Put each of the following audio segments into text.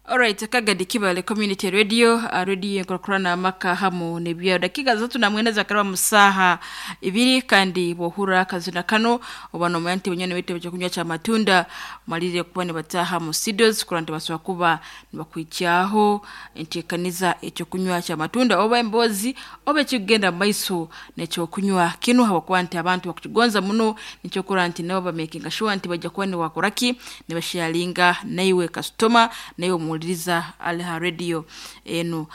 Alright, Kagadi Kibale Community Radio, radio enkurakurana amaka hamu nebyaro. Dakika zatu na mwenda zakaraba musaha ibiri kandi bohura akazina kano oba nomanya nti bunyoni bwite ekyokunywa kya matunda malire kuba nibataha mu studios kurora nti basobora kuba nibakwikyaho enteekaniza ekyokunywa kya matunda oba emboozi oba ekikugenda mu maiso n'ekyokunywa kinu habwokuba nti abantu bakukigonza muno nikyo kurora nti nabo bamakinga sure nti baija kuba nibakora ki nibasharinga naiwe kasitoma naiwe omuhuliriza ali ha radio enu.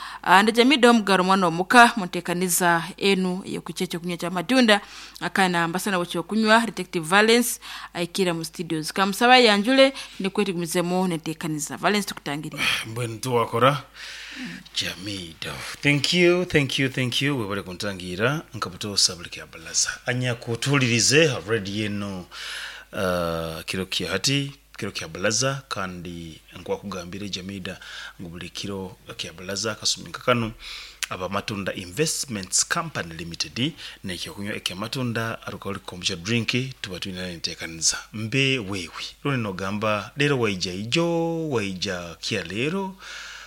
Ndajamidde omugaro omwana omuka munteekaniza enu ey'okwikya ekyokunywa kya matunda akana mbasana w'ekyokunywa Detective Valence aikira mu studios. Kamusaba ayanjule nikwo tugumizemu n'enteekaniza. Valence tukutangiriire. Mbwenu tiwakora Jamido. Thank you, thank you, thank you. Webale kuntangiira nka butoosa buli kya balaza. Anyakutuhulirize ha radio enu kiro kya hati, kiro kya balaza kandi nkwakugambire Jamida ngu buli kiro kya balaza akasumi nka kanu aba Matunda Investments Company Limited n'ekyokunywa ekya Matunda Alcoholic Kombucha Drink tuba twine enteekaniza. Mbe wewe rundi nogamba leero waija ijo, waija kya leero,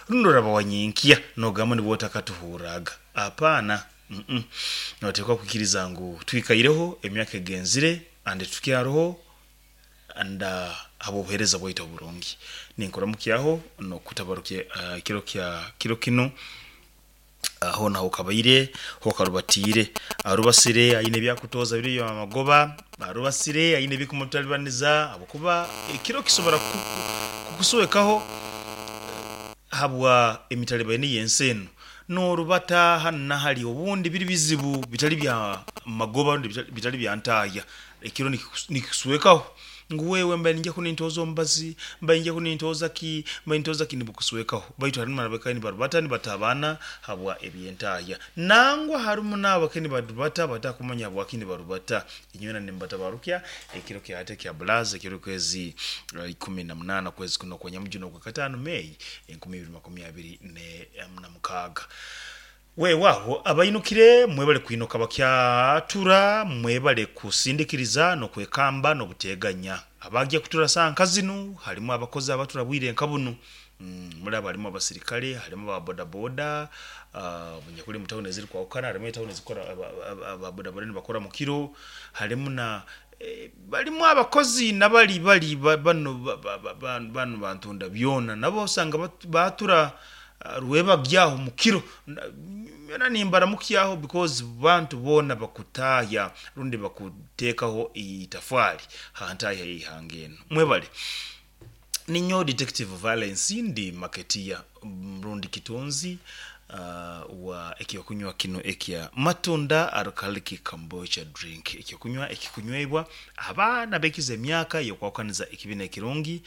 rundi oraba wanyenkya nogamba nibwo otakatuhurraga. Apaana, mm noteekwa kwikiriza ngu twikaireho emyaka egenzire and tukyaroho and habw'obuheereza bwaitu oburungi. Ninkuramukyaho n'okutabarukya ekiro kya kiro kinu hoona hokabaire hokarubatiire. Arubasire aine ebyakutooza biri eby'amagoba, arubasire aine ebikumutalibaniza habwokuba ekiro kisobora kukuswekaho habwa emitalibaine y'ensi enu. N'orubata hanu na hali obundi biri bizibu bitali bya magoba rundi bitali bya ntaahya. Ekiro nikikuswekaho ngu wewe mbaire ningya kunintooza omubazi, mbaire ningya kunintooza ki, mbaire nintooza ki nibukuswekaho. Baitu harimu n'abakaire nibarubata nibatabaana habwa eby'entaahya. Nangwa harimu n'abo abakaire nibarubata batakumanya habwaki nibarubata. Inywena nimbatabarukya ekiro kya hati ekya Bulaaza ekiro kwezi 18 okwezi kuno okwa Nyamujuni Okwakataano, May, 2026. Weewaawo abainukire mwebale kwinuka bakyatura, mwebale kusindikiriza n'okwekamba n'obuteeganya. Abagya kutura saaha nka zinu harimu abakozi abatura bwire nka bunu. Muri abo harimu abasirikare, harimu aba bodaboda, obunyakuri omu tawuni ezirikwahukana harimu etawuni ezikukora aba bodaboda nibakora mukiro, harimu na barimu abakozi nabari bari banu banu bantunda byona nabo osanga batura rwebagyaho mukiro. Nyona nimbaramukyaho because bantu boona bakutaahya rundi bakuteekaho eitafari ha ntaahya y'eihanga enu. Mwebale. Ninyowe Detective Valence ndi marketeer rundi kitunzi wa ekyokunywa kinu ekya Matunda Alcoholic Kombucha Drink, ekyokunywa ekikunywebwa abaana abekize emyaka y'okwahukaniza ekibi n'ekirungi,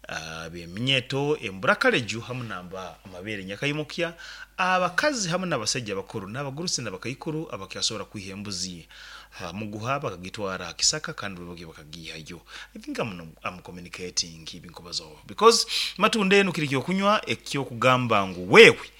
ab'eminyeto, emburakareju hamu namba amabeere nyakaimukya, abakazi hamu n'abasaija abakuru n'abagurusi n'abakaikuru abakyasobora kwiha embuzi ha muguha bakagitwara ha kisaka kandi bwe bakagiihayo. I think I'm, I'm communicating ebinkubazaho because matunda enu kiri kyokunywa ekyokugamba ngu wewe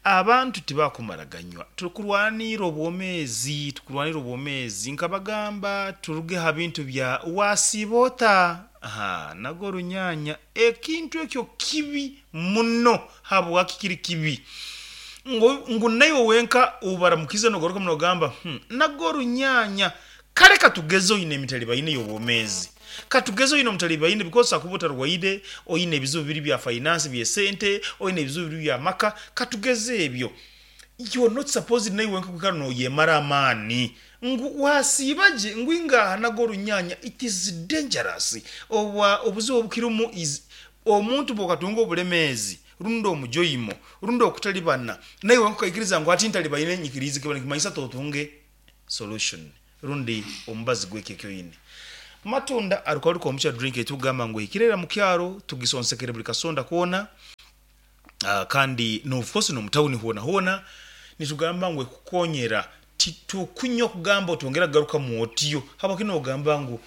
abantu tibakumara ganywa. Tukurwanira obwomezi, tukurwanira obwomezi nkabagamba turuge ha bintu bya wasiiba ota ha nago orunyanya ekintu ekyo kibi muno. Habwaki kiri kibi? Ngu, ngu naiwe wenka obaramukize nogarukamu nogamba, hmm, nago orunyanya. Kale katugeze oine emitalibaine y'obwomeezi. Katugeze oine omutalibaine because akuba otarwaire, oine ebizibu biri bya finance by'esente, oine ebizibu biri by'amaka, katugeze ebyo. You are not supposed naiwe wenka kwikara noyemara amaani ngu wasiiba gye ngu ingaha nago orunyanya. It is dangerous. Obwa obuzibu obukirimu is omuntu bwokatunga obulemeezi rundi omujoimo rundi okutalibana naiwe wenka okaikiriza ngu hati ntalibaine nyikiriize kiba nikimanyisa totunge solution rundi omubazi gw'ekyo eki oine. Matunda alcoholic kombucha drink ei tukugamba ngu ehikire ira mukyaro tugisonsekere buri kasonda koona kandi no of course n'omu tawuni hoona hoona nitugamba ngu ekukonyera titukunywa kugamba otongera kugarukamu otyo habwaki nogamba ngu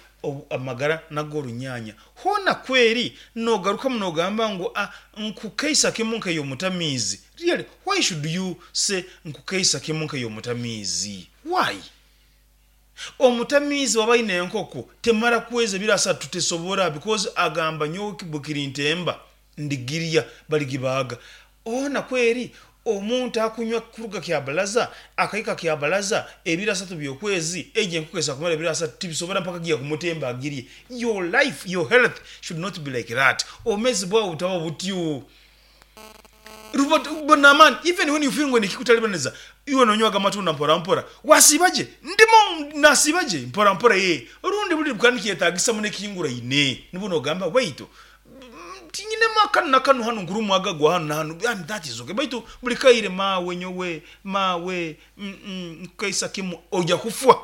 amagara n'ag'orunyanya hoona kweri nogarukamu nogamba ngu nkukeisa kimu nk'ey'omutamiizi really why should you say nkukeisa kimu nk'ey'omutamiizi why? Omutamiizi waba aine enkoko temara kwezi ebiro asatu tesobora because agamba nyowe bwekiri ntemba. Ndigirya baligibaaga. Hoona kweri omuntu akunywa kuruga Kyabalaza akahika Kyabalaza ebiro asatu by'okwezi, egyo enkoko esobola kumara ebiro asatu tibisobora mpaka giya kumutemba agirye. Your life, your health should not be like that. Obwomeezi bwawe butaba butyo. Ruba n'amaani even when you feel ngu oine ekikutalibaniza, iwe nonywaga amatunda mpora mpora, wasiiba gye? Ndimo nasiiba gye mpora mpora ee. Orundi buri bukaba nikyetagisa muno ekihinguraine, nibwo nogamba baitu Tinyinemu akanu na kanu hanu nkurumwa agagwa hanu na hanu and that is okay baitu buri kaire maawe nyowe maawe mm nkukaisa kimu oija kufwa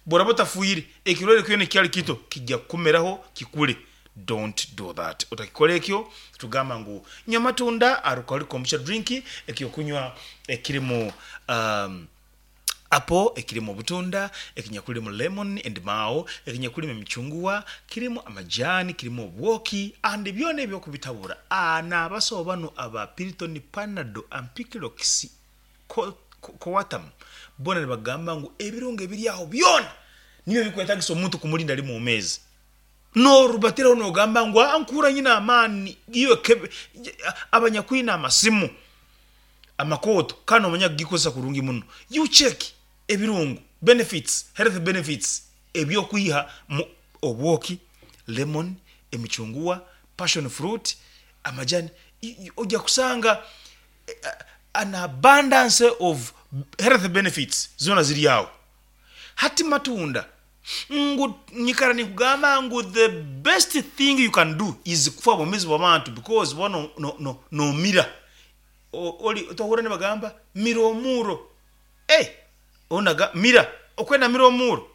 bworaba otafwire ekirwaire kyona ekyali kito kija kukumeraho kikure don't do that otakikora ekyo tugamba ngu nywa amatunda alcoholic kombucha drink ekyokunywa ekirimu um Apple ekirimu obutunda, ekinyakulimu lemon endimao, ekinyakulimu emicunguwa, kirimu amajani, kirimu obwoki and byona ebyo okubitabura n'abasawo banu aba Piriton, Panado, Ampiclox, Coartem boona nibagamba ngu ebirungo ebiri aho byona nibyo ebikwetagisa omuntu kumurinda ari mwomeezi. Norubatiraho nogamba ngu aa nkuhurra nyine amaani, iwe abanyakwine amasimu. Amakooto kandi nomanya kugikozesa kurungi muno. You check ebirungo, benefits, health benefits, ebyokwiha mu obwoki, lemon, emicunguwa, passion fruit, amajani, oja kusanga an abundance of health benefits zona ziri aho. Hati matunda, ngu nyikara ninkugamba ngu the best thing you can do is kufa obwomezi bw'abantu because boona nomira. Ori tohurra nibagamba mira omuuro eh onaga mira okwenda mira omuuro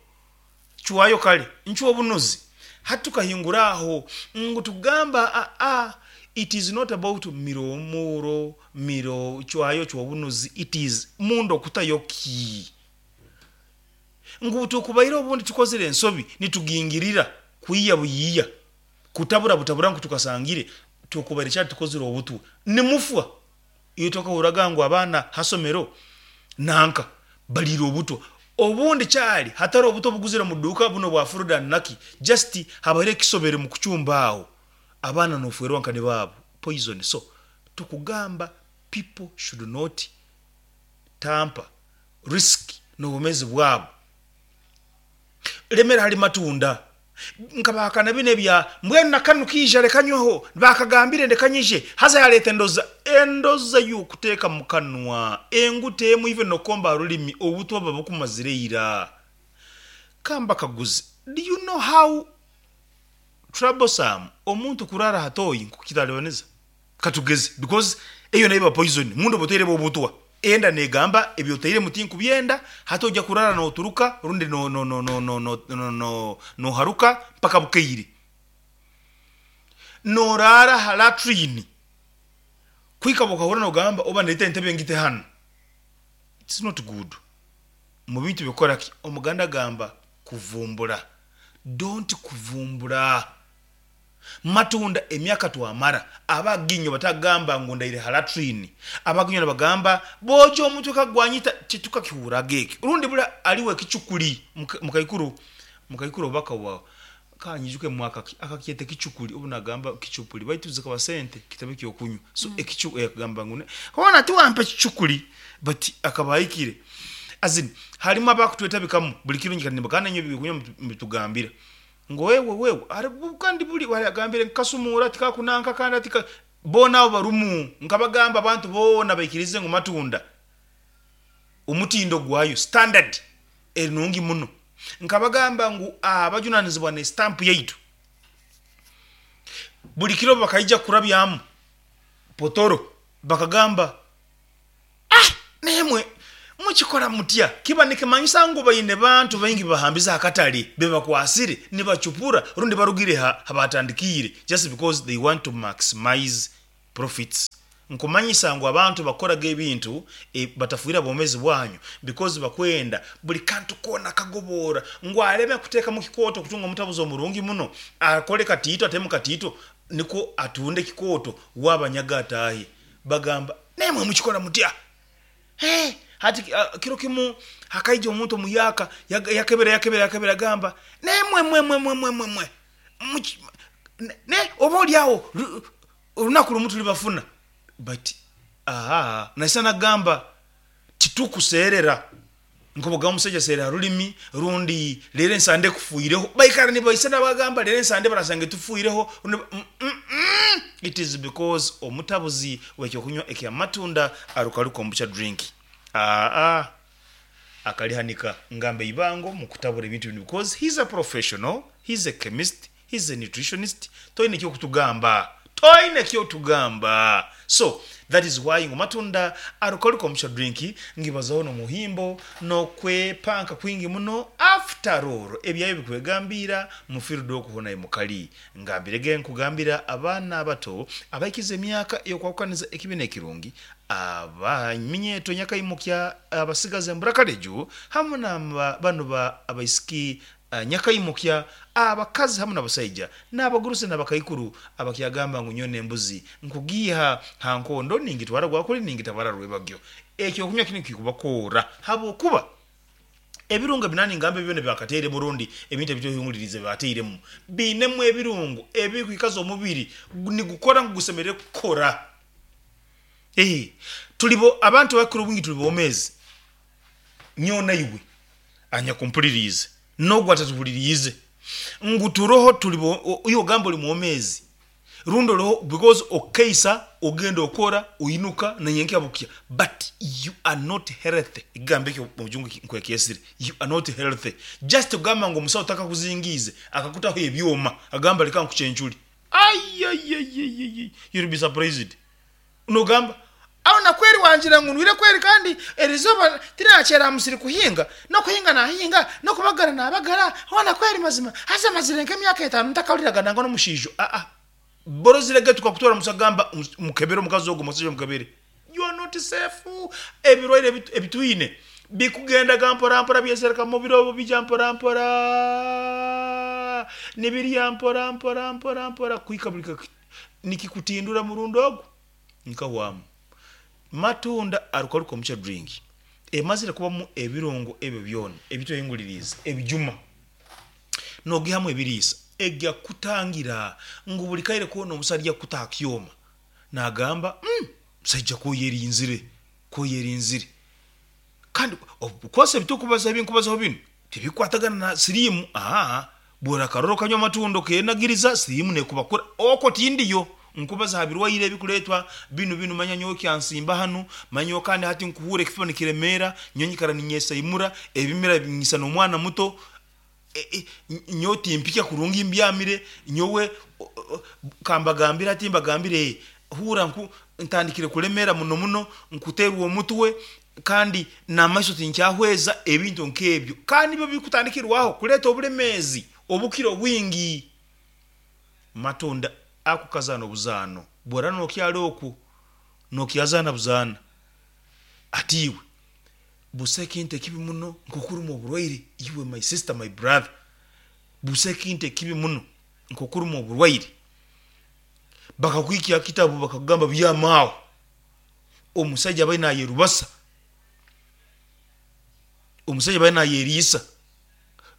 cwayo kare ncwa obunuzi hati tukahingura aho ngu tugamba aa it is not about mira omuuro mira cwayo cwa obunuzi it is munda okutayo ki ngu tukubaire obundi tukozire ensobi nitugingirira kwiya buyiiya Kutabura butabura ngu tukasangire tukubaire kyali tukozire obutwa nimufwa. Iwe tokahurraga ngu abaana ha somero nanka baliire obutwa. Obundi kyali hatari obutwa obuguzire omu duuka bunu obwa Frodan naki just habaire ekisobere mu kucumba aho abaana nofwerwa nka nibaabo poison so tukugamba people should not tamper risk nobwomezi bwabo. Lemera hali matunda. Nkabahakana binu ebya mbwenu na kanu kaija reka nyweho, baakagambire ndeka nyije, haza yareeta endoza, endoza y'okuteeka mu kanwa, enguta emwe even n'okukomba aha rurimi, obutwa buba bukumazire ira. Kambakaguze, do you know how troublesome omuntu kuraara aha toyi nk'okukitaribaniza? Katugeze because eyo nayo eba poison munda oba otairemu obutwa enda negamba ebi otairemu tinkubyenda hati oija kurara noturuka rundi noharuka mpaka bukeire. Norara aha latrine kuhika bwokahurra nogamba oba ndete entebe ngite hanu it's not good. Mubintu byokukoraki omuganda agamba kuvumbura don't kuvumbura. Matunda emyaka twamara, abaginyo batagamba ngu ndaire ha latrine, abaginyo nibagamba booja omutwe kagwanyita, titukakihurraga eki. Rundi buli aliwo ekicukuli, mukaikuru, mukaikuru oba akawa, kanyijuke mwaka ki, akakyeta ekicukuli obu nagamba kicupuli baitu zikaba sente kitabe kyokunywa. So ekicu, akagamba ngu hoona tiwampa ekicukuli but akaba ahikire. As in harimu abakutwetabikamu buli kiro nyikara nimbagamba nainywe ebyokunywa mubitugambira. Ngu wewe wewe ari kandi buri agambire ngu kasumuura tikakunanka kandi ati boona abo barumu nkabagamba abantu boona baikirize ngu matunda omutindo gwayo standard eri nungi muno. Nkabagamba ngu abajunanizibwa ne stamp yaitu buri kiro bakaija kurabyamu potoro bakagamba Ah! Naimwe mukikora mutya? Kiba nikimanyisa ngu baine bantu baingi bebahambize aha katare bebakwasire nibacupura rundi barugire ha habatandikiire just because they want to maximize profits. Nkumanyisa ngu abantu bakoraga ebintu batafwire bwomezi bwanyu because bakwenda buli kantu koona akagoboora ngu aleme kuteekamu kikooto kutunga omutabuzi omurungi muno akole katiito atemu katiito nikwo atunde ekikooto wabanyaga ataahe. Bagamba, Naimwe mukikora mutya? Hee, hati kiro kimu hakaija omuntu omuyaaka, yakebera, yakebera, yakebera, agamba, Naimwe mwe, mwe, mwe, mwe, mwe, mwe, ne, oba oli aho, Orunaku rumu tulibafuna but ahaa naisa nagamba titukuseerera nkoboga omusaija aseerera ha rulimi rundi reero ensande ekufuireho baikara nibaisa nabagamba reero ensande barasanga etufuireho rundi mm it is because omutabuzi wekyokunywa ekya matunda arukaru kombucha drink aa akalihanika ngamba eibango mukutabura ebintu binu because he's a professional he's a chemist He's a nutritionist toine kyokutugamba toine kyotugamba so that is why ngu matunda alcoholic omusha drink ngibazaho nomuhimbo nokwepanka kwingi muno after all ebyayo bikwegambiira mu field okwo hona mukali ngambirege nkugambira abaana abato abaikize emyaka eyokwahukaniza ekibi nekirungi abaminyeto nyakaimukya abasigazi emburakaliju hamu na banu ba abaisiki Nyakaimukya, abakazi hamu n'abasaija, n'abagurusi n'abakaikuru abakyagamba ngu nyowe n'embuzi nkugiiha ha nkondo ningitwara gwakuli ningitabara rwebagyo. Ekyokunywa kinu kikubakoora habwokuba ebirungo ebi nangamba ebi byona ebi bakateiremu rundi ebintu ebi twehinguliriize ebi batairemu biinemu ebirungo ebikwikaza omubiri nigukora ngu gusemeriire kukora. Ee, tuli bo abantu abakukira obwingi tuli bomeezi. Nyowe naiwe anyakumpuliriize, n'ogu atatuhuliriize, ngu turoho tuli bo, iwe ogamba oli mwomeezi rundi oroho because okaisa, ogenda okora, oinuka na nyenkya bukya but you are not healthy. Ekigambo ekyo omu rujungu nkwekyesire, you are not healthy. Just kugamba ngu omusawo takakuzingiize akakutaho ebyoma agamba leka nkucencure, aiaiaiaiai you'll be surprised. Nogamba, Aho na kweri wangira ngu ndwire kweri kandi erizooba tinakyera aha musiri kuhinga, n'okuhinga nahinga, n'okubagara nabagara, hoona kweri mazima haza mazire nk'emyaka etaano ntakahuriraga nangwa n'omushaija. Aa borozire ge tukakutwara omu gamba mukebere omukazi ogwo omushaija omukebere. You are not safe. Ebirwaire ebitwine bikugendaga mpora mpora byesereka omu mubiri obwo bija mpora mpora nibirya mpora mpora mpora mpora kuhika buri Nikikutindura murundi ogu nkahwamu. Matunda arukaruka omu drink emazire kubamu ebirungo ebyo byona ebitwehinguliriize, ebijuma, nogihamu ebiriisa, egya kukutangira ngu buri kaire koona omusaija arya kukuta aha kyoma nagamba umm musaija kwoyerinzire, kwoyerinzire. Kandi of course ebitukubaza ebinkubazaho binu tibikukwatagana na siriimu aa bworakarora okanywa amatunda okenagiriza siriimu nekubakura okwo tindiyo nkubaza ha birwaire ebikuretwa binu binu manya nyowe kyansimba hanu manya nyowe kandi hati nkuhuura ekifuba nikiremeera nyowe nyikara ninyesaimura ebimira binyisana omwana muto nyowe timpikya kurungi mbyamire nyowe kambagambire hati mbagambire huura nku ntandikire kuremeera muno muno nkuteerwa omutwe kandi n'amaiso tinkyahweza ebintu nk'ebyo kandi nibyo birikutandikirwaho kureeta oburemeezi obukira obwingi. Matunda ako kazaana obuzaano bwora nokyara okwo nokyazaana buzaana ati iwe Busa ekintu ekibi muno nk'okurumwa oburwaire iwe my sister my brother busa ekintu ekibi muno nk'okurumwa oburwaire bakakwikya aha kitabu bakakugamba byama aho omusaija abaire nayerubasa omusaija abaire nayeriisa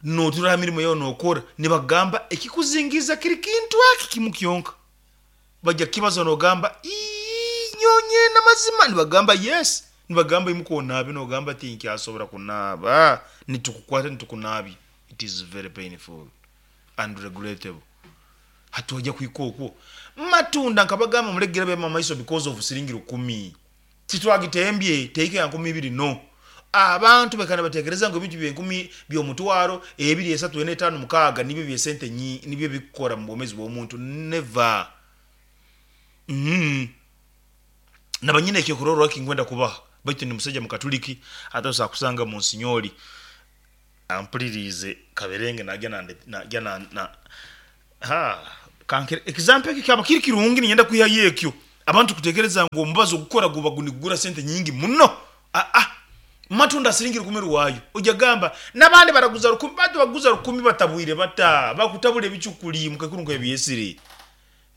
notura aha mirimo yawe nokora nibakugamba ekikuzingiiza kiri kintu eki kimu kyonka. Baija kukibaza nogamba, Ii, nyowe nyenda amazima? Nibagamba, Yes. Nibagamba, Imuka onaabe. Nogamba, Tinkyasobora kunaaba. Nitukukwata nitukunaabya. It is very painful and regrettable. Hati waija kuhika okwo. Matunda nkabagamba muleke girabyamu amaiso because of siringi rukumi. Titwagitembye tehika ya 2000 no. Abantu baikara nibatekereza ngu ebintu by'enkumi by'omutwaro ebiri esatu ena etaano mukaaga nibyo by'esente nibyo bikukora mu bwomezi bw'omuntu. Never. Mm. Naba nyine ekyokurorraho ekinkwenda kubaha baitu ndi musaija Mukatuliki hati osobola kusanga Monsinyoli ampuliriize kaberenge nagya nande nagya na na ha kankere example ekyo kyaba kiri kirungi niinyenda kwihayo ekyo abantu kutekereza ngu omubazi ogukora guba nigugura sente nyingi muno aa matunda siringi rukumi rwayo oija gamba nabandi baraguza rukumi batu bakuguza rukumi batabwire bata bakutabura ebicukuli mukaikuru nkebyesire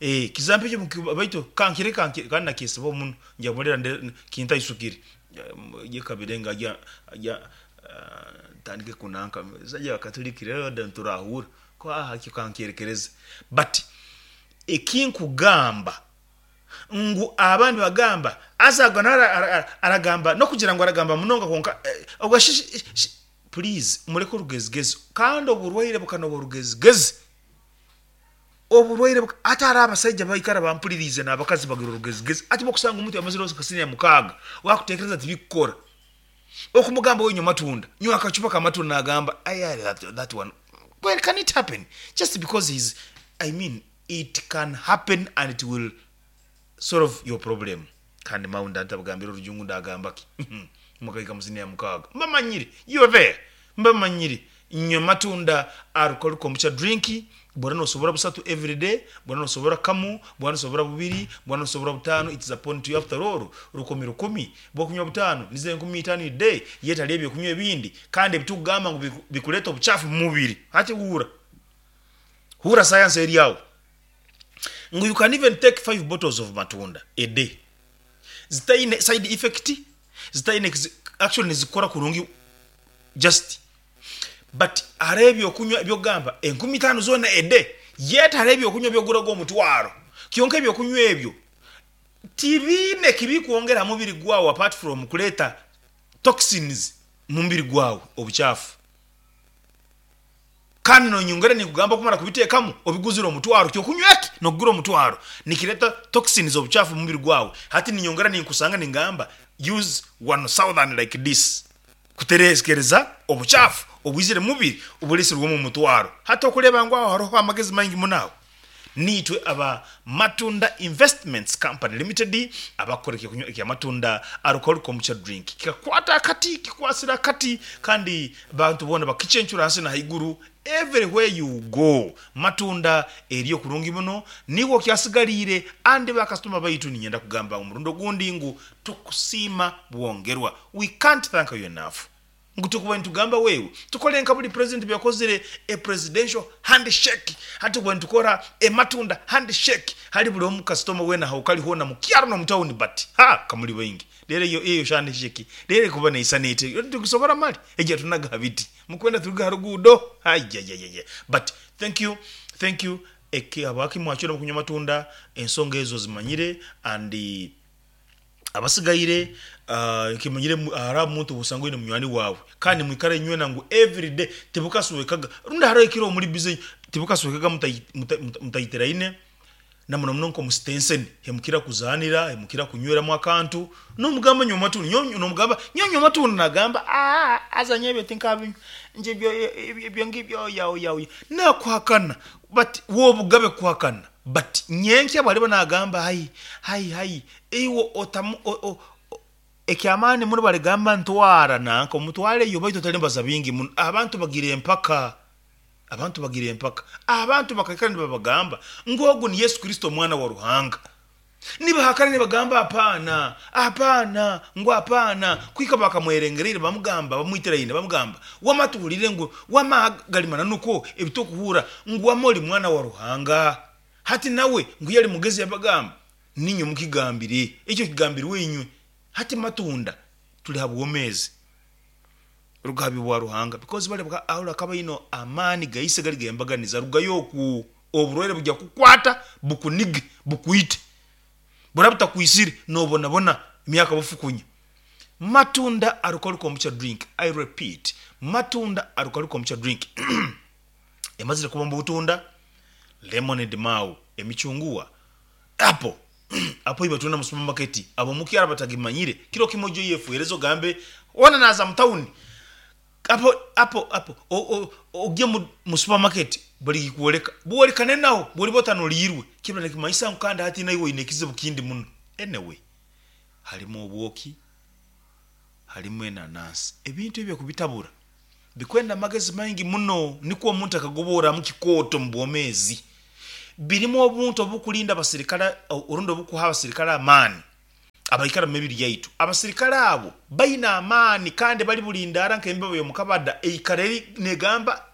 eh example ekyo baitu kankire kankire kandi nakyesibaho muno nja kumulera kintaisukire ye kaberenge agya agya ntandike kunanka musaija wa katuliki rero niturahuura ko aha ekyo kankyerekereze but ekinkugamba. Ngu abandi bagamba haza agwo nawe aragamba n'okugira ngu aragamba munonga kwonka obwo shi shi please mureke orugezigezi kandi oburwaire bukanoba orugezigezi oburwaire buka hati hariho abasaija baikara bampuririize n'abakazi bagira orugezigezi hati bwokusanga omuntu yamazire nka siniya mukaaga wakutekereza tibikukora okumugamba we nywa amatunda nywa akacupa k'amatunda nagamba aya that, that one well can it happen just because he's I mean It can happen and it will solve your problem. Kandi mawe ndantabagambira orujungu ndagamba ki? Mukahika mu siniya mukaaga. Mbamanyire. You are there. Mbamanyire. Nywa amatunda alcoholic kombucha drink, bwora nosobora busatu everyday, bwora nosobora kamu, bwora nosobora bubiri, bwora nosobora butaano, it is upon to you after all, 1000, bwokunywa butaano, nizo 5000 a day, yet hariyo ebyokunywa ebindi kandi ebitukugamba ngu bikureeta obuchafu mumubiri. Hati huura. Hurra science eri aho ngu you can even take five bottles of matunda a day zitaine side effect, zitaine actually nizikukora kurungi just but hariho ebyokunywa ebyokugamba 5000 zoona a day yet hariho ebyokunywa ebyokugura ogwomutwaro kyonka ebyokunywa ebyo tibiine kibikwongera aha mubiri gwawe apart from kureeta toxins mumubiri gwawe obukyafu. Kandi nonyongera ninkugamba kumara kubiteekamu obiguzire omutwaro, ky'okunywa eki nokugura omutwaro nikireeta toxins obucaafu mumubiri gwawe. Hati ninyongera ninkusanga ningamba use one southern like this kuterekereza obucaafu obwizire mumubiri oburesirwe omu mutwaro. Hati okureeba ngu aho hariho amagezi maingi muno aho. Niitwe aba Matunda Investments Company Limited abakukora ekyokunywa ekya Matunda Alcoholic Kombucha Drink. Kikakwata akati, kikwasire akati kandi bantu boona bakicencura ahansi na haiguru everywhere you go. Matunda eriyo kurungi muno niiwe okyasigariire and ba kasitoma baitu niinyenda kugamba omurundi ogundi ngu tukusiima bwongerwa. We can't thank you enough. Ngu tukuba nitugamba wewe tukore nka buri president byakozire a presidential handshake hati tukuba nitukora a matunda handshake hali buri omu customer wena ahokari hona mukyaro nomu town but ha kamuri baingi rero eyo eyo handshake rero ekuba neisana eti tikusobora mali egyo tunaga aha biti mukwenda turuge aha ruguudo haijaijaija but thank you thank you eki habwaki mwacwiremu kunywa amatunda ensonga ezo ozimanyire and Abasigaire nkimanyire hariho omuntu osanga oine munywani waawe kandi nimwikara inywena ngu everyday tibukaswekaga rundi hariho ekiro muri busy tibukaswekaga mutayitiraine na muno muno nk'omu sitenseni hemukira kuzaanira hemukira kunyweramu akantu n'omugamba nywa amatunda nyowe n'omugamba nyowe nywa amatunda nagamba aah haza nyowe ebyo tinkabinywa nje ebyo ebyo ngibyo oya oya oya nakuhakana but w'obugabe kuhakana But nyenkya bwariba nagamba hai hai hai iwe otamu o o ekyamaani muno barigamba ntwara nanka omutwareyo baitu otarimbaza bingi muno abantu bagira empaka abantu bagira empaka abantu bakaikara nibabagamba ngu ogu ni Yesu Kristo omwana wa Ruhanga nibahakana nibagamba apaana apaana ngu apaana kuhika bakamwerengereire bamugamba bamwitiraine bamugamba wama tuhurire ngu wama gari mananu kwo ebitukuhurra ngu wama ori mwana wa Ruhanga. Hati nawe ngu yali mugezi yabagamba, Niinywe mukigambire, ekyo kigambirwe inywe. Hati matunda tuli ha bwomeezi rugabi bwa Ruhanga because bali aho akaba aine amaani gaise gali gembaganiza rugayo oku oburwaire bugya kukwata bukunige bukwite buraba butakwisire nobonabona emyaka bufukunya. Matunda alcoholic kombucha drink I repeat matunda alcoholic kombucha drink emazire kuba omu butunda, lemonade mau, emicunguwa, apple, apple eibatunda omu supamaketi ab'omukyaro abatagimanyire, kiro kimwe oije oyefuhereze ogambe hoona naaza mu tawuni, apple, apple, apple, ogye mu supamaketi barigikworeka, bworeka naho bworiba otanuriirwe kiba nikimanyisa ngu kandi hati naiwe oine ekizibu kindi muno. Anyway, harimu obwoki, harimu enanansi, ebintu ebyo kubitabura Bikwenda amagezi maingi muno nukwo omuntu akagoboramu kikooto omu bwomeezi. Birimu obuntu obukulinda abasirikale rundi obukuha abasirikale amaani abaikara omu mibiri yaitu. Abasirikale abo baine amaani kandi bali bulindaara nk'embeba y'omu kabada eikara eri negamba,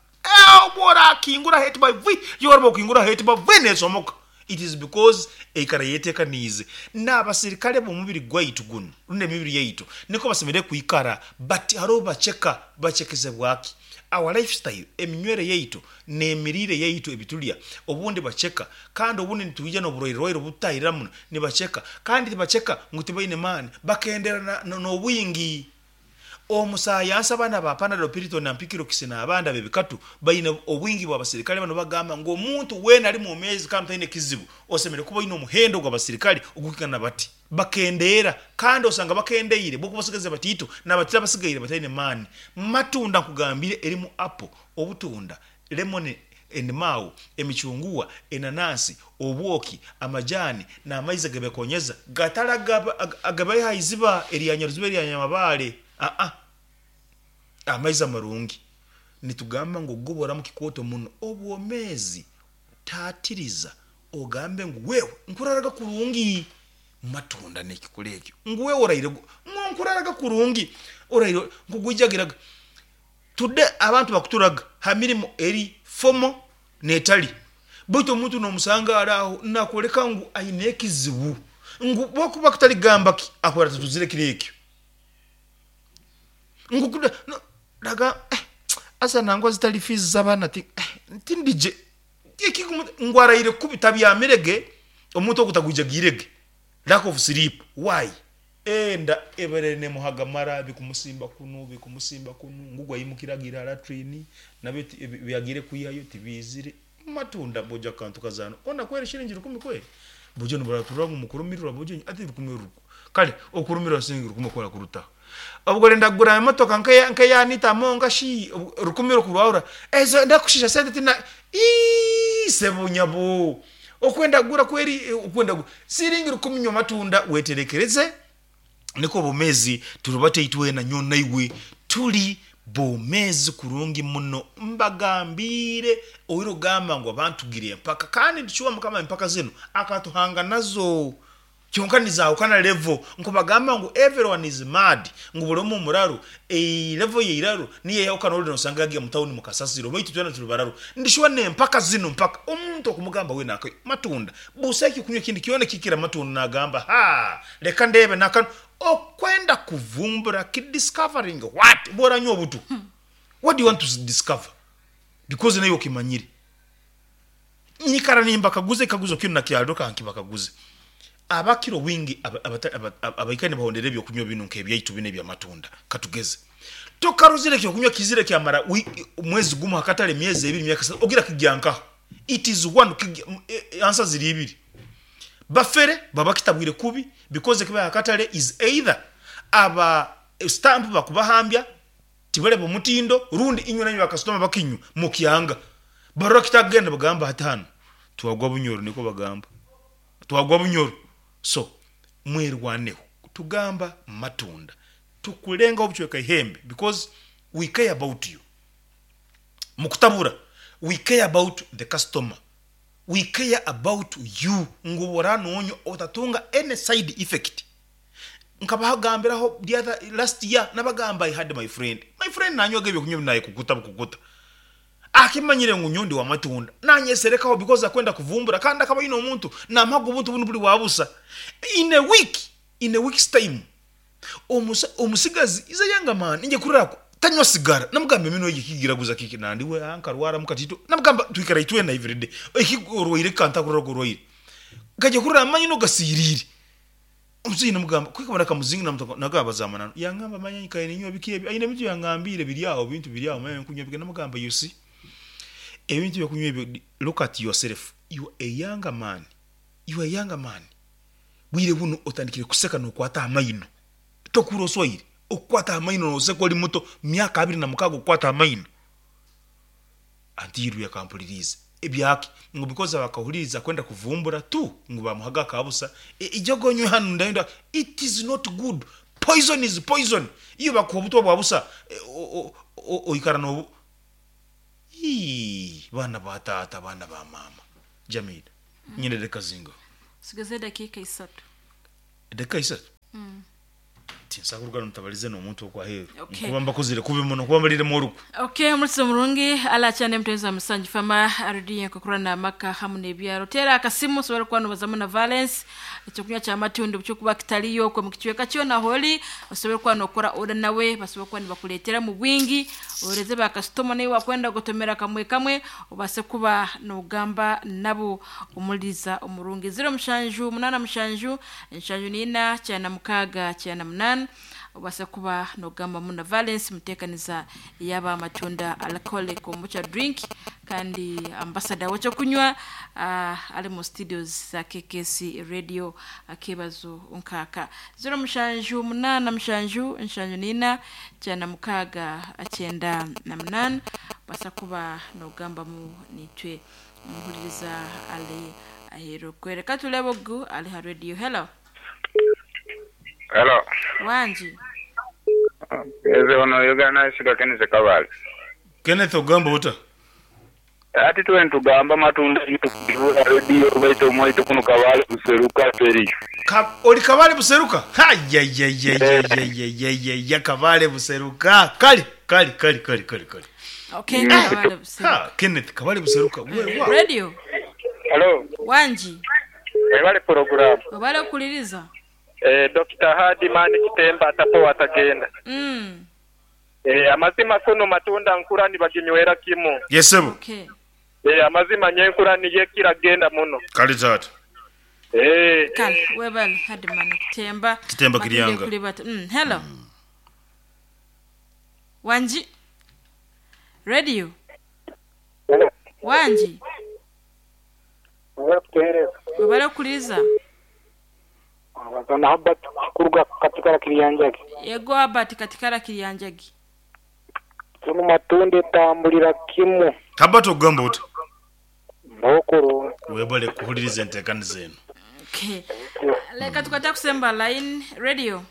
Obworakingura hati ba vi, yoruba okingura hati ba vi nesomoka. It is because eikara ayetekaniize. N'abasirikare b'omubiri gwaitu gunu rundi emibiri yaitu nikwo basemeriire kwikara but haroho baceka. Bacekezebwa ki? Our lifestyle, eminywere yaitu n'emiriire yaitu ebitulya obundi baceka kandi obundi nitwija n'oburwaire-rwaire obututahirira muno nibaceka kandi tibaceka ngu tibaine maani bakendera n'obwingi. Omusayansi abaana ba Panadol, Piriton na Mpikirox n'abandi ab'ebikatu baine obwingi bw'abasirikale banu bagamba ngu omuntu weena ali mwomeezi kandi otaine kizibu osemeriire kuba oine omuhendo gw'abasirikale ogurikwingana bati. Bakendeera kandi osanga bakendeire bwokuba osigaze bataito nabatiro abasigaire bataine maani. Matunda nkugambire erimu apple, obutunda, lemon, enimau, emicunguwa, enanansi, obwoki, amajani n'amaizi agebekonyeza gatari agabaiha aha iziba erya nyaruziba erya nyamabaare aa amaizi amarungi. Nitugamba ngu goboramu kikooto muno obwomeezi taatiriza ogambe ngu wewe nkuraraga kurungi matunda n'ekikura ekyo ngu wewe oraire ngu nkuraraga kurungi oraire nkugwijagiraga. Today abantu bakuturaga ha mirimo eri formal n'etali baitu omuntu n'omusanga ari aho nakwoleka ngu aine ekizibu ngu bwokuba kutali kugamba ki akuba atatuzire kiro ekyo ngu kuda no raga eh asa nangwa zitali fees z'abaana ti eh tindigye ngu araire kubi tabyamire ge omuntu ogu tagwijagiire ge lack of sleep why? Enda ebaire nemuhaga mara bikumusimba kunu bikumusimba kunu ngu gwayimukire agiire ha latrine nabyo ebi yagiire kwihayo tibiizire. Matunda bojo akantu kazaana ona kweri shiringi rukumi kweri bojo nibaraturira ngu mukurumirirwa bojo ati rukumi ruku kare okurumirirwa siringi rukumi oku orakurutaho obwo orenda kugura emotoka nkeya Anita Among shi rukumi okurwahura ezo ndakushiisha sente tina ii sebo nyabo. Okwenda kugura kweri okwenda kugura siringi rukumi nywa amatunda weterekereze nikwo obomezi turubate itwena nyowe naiwe turi bomezi kurungi muno mbagambiire oire ogamba ngu abantu tugira empaka kandi nitucuba mukama empaka zinu akatuhanga nazo. Kyonka nizahukana level nkubagamba ngu everyone is mad ngu buri omwe omuraru ei level yeiraru niyo eyahukana ori nosanga yagiya mu town mukasasiro baitu twena turi bararu ndi sure nempaka zinu mpaka omuntu okumugamba wena akanywa matunda busa ekyokunywa ekindi kyona ekikira amatunda nagamba haa reka ndebe nakanu okwenda kuvumbura ki discovering what bworanywa obutwa what do you want to discover because naiwe okimanyire. Nyikara nimbakaguza ekikaguzo kinu na kyarro kankibakaguze. Abakira obwingi abaikaire nibahondera ebyokunywa binu nk'ebyaitu binu eby'amatunda, katugeze, tokarozire ekyokunywa kiizire kyamara mwezi gumu ha katale, emyezi ebiri, emyaka esatu, ogira kigya nkaha? It is one, answer ziri ibiri. Bafere baba kitabwire kubi because ekibaha ha katale is either aba stamp bakubahambya, Tibareba omutindo rundi inywe nainywe bakasitoma bakinywa mukyanga. Barora kitakugenda bagamba hati hanu twagwa bunyoro nikwo bagamba. Twagwa bunyoro. So mwerwaneho. Tugamba matunda tukulengaho obucweka ihembe because we care about you. Mukutabura we care about the customer. We care about you ngu obu oranonywa otatunga any side effect. Nkabagambiraho the other last year nabagamba I had my friend, my friend nanywaga ebyokunywa ebi nayekukuta bukukuta akimanyire ngu nyowe ndi wamatunda nanyeserekaho because akwenda kuvumbura kandi akaba aine omuntu namuhaga obuntu bunu buri bwabusa in a week in a week's time omusa omusigazi is a younger man ingye kurora ku tanywa sigara namugamba eminwa egi ekigiraguza kiki nandi we nkarwaramu katito namugamba twikara itwena everyday eki orwaire kantakurora ogu orwaire nkagya kurora amaino gasirire. Omusaija namugamba, kwikaba nakamuzinga namuta nagamba za mananu. Yangamba manya nyikaire ninywa biki ebi, aine ebintu yangambiire biri aho, bintu biri aho manya nkunywa biki. Namugamba you see, ebintu ebyokunywa ebyo look at yourself, you are a younger man, you are a younger man. Bwire bunu otandikire kuseka nokwata aha maino, tokuhurra oswaire? Okukwata aha maino noseka ori muto, myaka 26 okukwata aha maino. Anti yakampuririize ebyaki ngu because abakahuririza kwenda kuvumbura tu ngu bamuhaga akabusa ijogo onywe hanu ndayenda it is not good poison is poison iyo bakuha obutwa bwa busa oikara nobu ii baana ba taata baana ba maama Jamila nyine edakika zingaha? Nsigaze edakika isatu. Edakika isatu? Tinsobola kuruga ntabalize n'omuntu okwo aheeru. Okay. Nkuba mbakozire kubi muno, nkuba mbaliremu orukwe. Okay, omulisa omurungi alakyane mutezi wa Musangi Fama arudi nkokurana amaka hamu n'ebyaro. Tera akasimu osobora kuba nobazamu na Valence ekyokunywa kya matunda kyokuba kitaliyo okwe mu kicweka kyona holi osobora kuba nokora oda nawe basobora kuba nibakuleetera mu bwingi oreze bakasitoma nawe wakwenda gotomera kamwe kamwe obase kuba nogamba nabo omuliza omurungi 07 87 74 98 obasa kuba nogamba muna Valence mutekaniza yaba amatunda alcoholic kombucha drink kandi ambassador wekyokunywa ali mu studios za KKC radio akebazo nkaka 0787 74 98 basa kuba nogambamu nitwe muhuliriza ali aheru kwereka tulebe ogu ali ha radio. Hello. Hello. Wanji. Eze ono Uganda isiga Kenneth Kabale. Kenneth ogamba ota? Ati tuwe ntugamba matunda tukibura radio baito mwaito kuno Kabale buseruka feri. Oli Kabale buseruka? Hayayayayayayayaya Kabale buseruka. Kali kali kali kali kali kali. Okay, Kabale buseruka. Ha, Kenneth Kabale buseruka. We wa. Radio. Hello. Wanji. Ebale program. Obale okuliriza. Dr. Hadi Mani Kitemba atapo atagenda. Amazima kuno matunda nkurani baginywera kimu. Yes sir. Okay. Amazima nyenkurani yekira genda muno. Kali tata. Kale webale Hadi Mani Kitemba. Kitemba Kiryanga. Hello. Wanji. Radio. Hello. Wanji. Webale okuliriza. Abazana Habbat kuruga katikara Kiryanjagi. Yego Habbat katikara Kiryanjagi. Kuno matunde tambulira kimu. Habbat ogamba ota? Mbokuru. Webale kuhuliriza enteekaniza eno. Okay. Leka tukata kusemba line radio.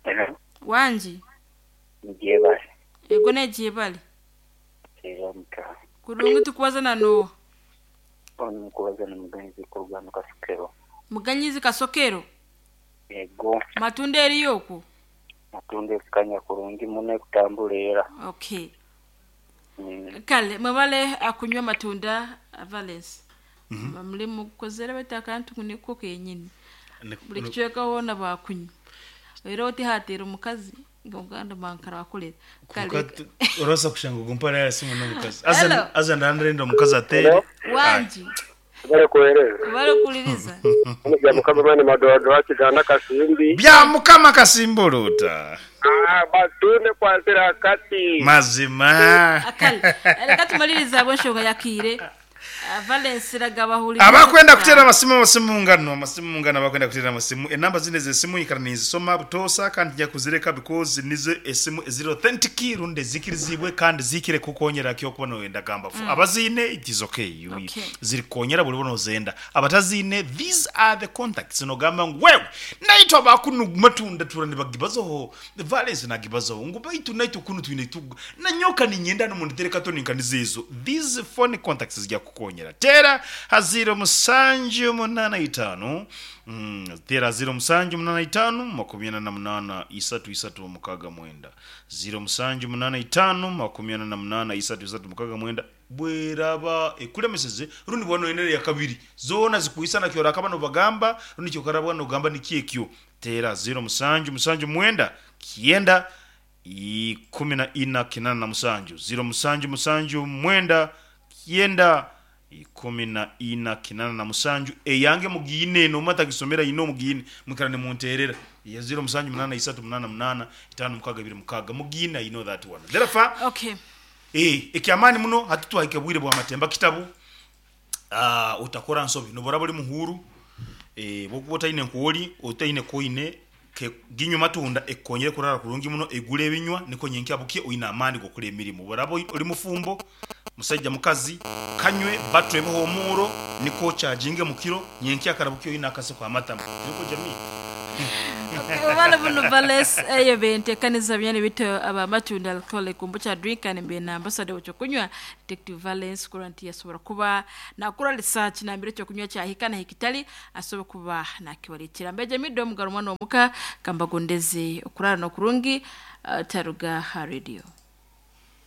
Hello. Wanji. Njebale. Yego nejebale. Kiramka. Kurungu tukubaza no. Ono mukubaza na muganyizi kuruga mu Kasokero. Muganyizi Kasokero. Yego. Matunda eriyo okwo. Matunda kanya kurungi muno kutambula era. Okay. Kale mwebale akunywa matunda Valence. Mulimu kukozera batakantu kuniko kenyini. Buli kicweka wona bakunywa. Era otihatira omukazi ng'oganda bankara bakolera. Kale Orosa kushanga gumpara ya simu n'omukazi. Aza aza ndandirenda omukazi atere. Wanji. Bale kuhereza. Bale kuliriza. Bya mukama mani madodo akiganda Kasimbi. Bya mukama Kasimbolota. Batunde kwazira kati. Mazima. Akale. Reka tumaliriza bwenshoga yakire. Valence ragabahuli. Abakwenda kutera amasimu ngano, amasimu ngano abakwenda kutera amasimu. Enamba zine zesimu ikara nizisoma butosa kandi nja kuzireka because nizo esimu eziri authentic runde zikirizibwe kandi zikire kukonyera kyo kuba noyenda gamba. Abazine it is okay. Okay. Ziri konyera buli bono zenda. Abatazine these are the contacts no gamba wewe. Naitwa bakunu matunda turani bagibazo. Valence nagibazo. Nguba itu naitwa kunu twine tu. Na nyoka ni nyenda no munitereka to ninkanizizo. These phone contacts zijya kukonyera. Tera haziro musanju munana itano tera 0 musanju munana itano 28 3 3 6 0 musanju munana itano 28 3 3 6 bweraba ekulemeseze rundi bwano enere ya kabiri zona zikuisana kyora kabano bagamba rundi kyokarabwa no gamba nikiekyo tera 0 musanju musanju mwenda kienda 14 87 0 musanju musanju mwenda kienda 14 87 eyange mugine no mata gisomera ino mugine mukarane munterera ya 0 musanju 8 3 8 8 5 6 2 6 mugine. You know that one therefore okay. Ekyamani muno hatutwahike bwire bwa matemba kitabu utakora nsobi nobora buli muhuru bokuba otaine nkuoli otaine koine ke ginywa matunda ekonyere kurara kurungi muno egule ebinywa niko nyenki abukie oina amani gokora emirimu borabo oli mufumbo musajja mukazi kanywe batwe omuro niko charginge mukiro nyenki akarabukie oina akase kwa matamu niko jamii. Obale buno Vales eyo bentekaniza byane bito aba matunda alcoholic kombucha drink and mbe na ambassador w'ekyokunywa Detective Valence kuranti yasobora kuba nakora research nambere ekyokunywa kyahika na hikitali asobora kuba nakibaletera mbeje mido mugaro mwana omuka kambagondeze okurara n'okurungi taruga ha radio.